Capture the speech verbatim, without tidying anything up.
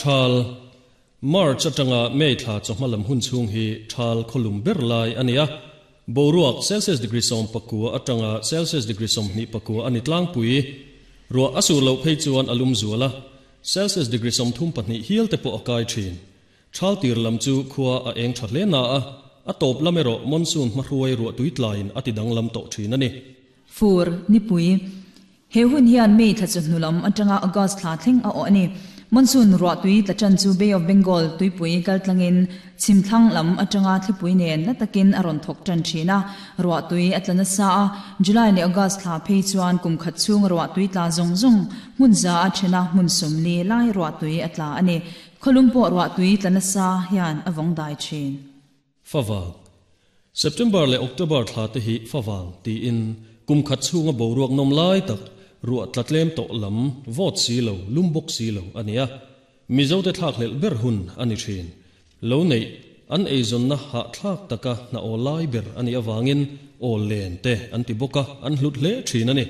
Thal March atanga May thla chawhma lam hun chhung hi thal khawlum ber lai a ni a. Boruak Celsius degree sawm pakua atanga Celsius degree sawmhnih pakua a ni tlangpui. Ruah a sur loh phei chuan a lum zual a, Celsius degree sawmthum pahnih hial te pawh a kai thin. Thal tir lam chu khua a eng tha hle na a, a tawp lam erawh monsoon hmahruai ruah tui tlaiin a ti danglam tawh thin a ni. Fur, nipui. He hun hian May thla chawhnu lam atanga August thla thleng a awh a ni. Monsoon ruah tui tla tan chu Bay of Bengal tuipui kaltlangin chhimthlang lam atanga thlipui nen na takin a rawn thawk tan thin a, ruah tui a tla nasa a. July leh August thla phei chuan kum khat chhung ruah tui tla zawng zawng hmun za a thena hmun sawmli lai ruah tui a tla a ni. Khawlum pawh ruah tui tla nasa hian a vawng dai thin. Favang September leh October thla te hi favang tiin kum khat chhunga boruak nawm lai tak ruah tla tlem tawh lam vawt si lo lum bawk si lo a ni a. Mizo te thlak hlelh ber hun a ni thin. Lo neih an eizawnna hah thlak taka hna aw lai ber a nih avangin aw len te an ti bawk a, an hlut hle thin a ni.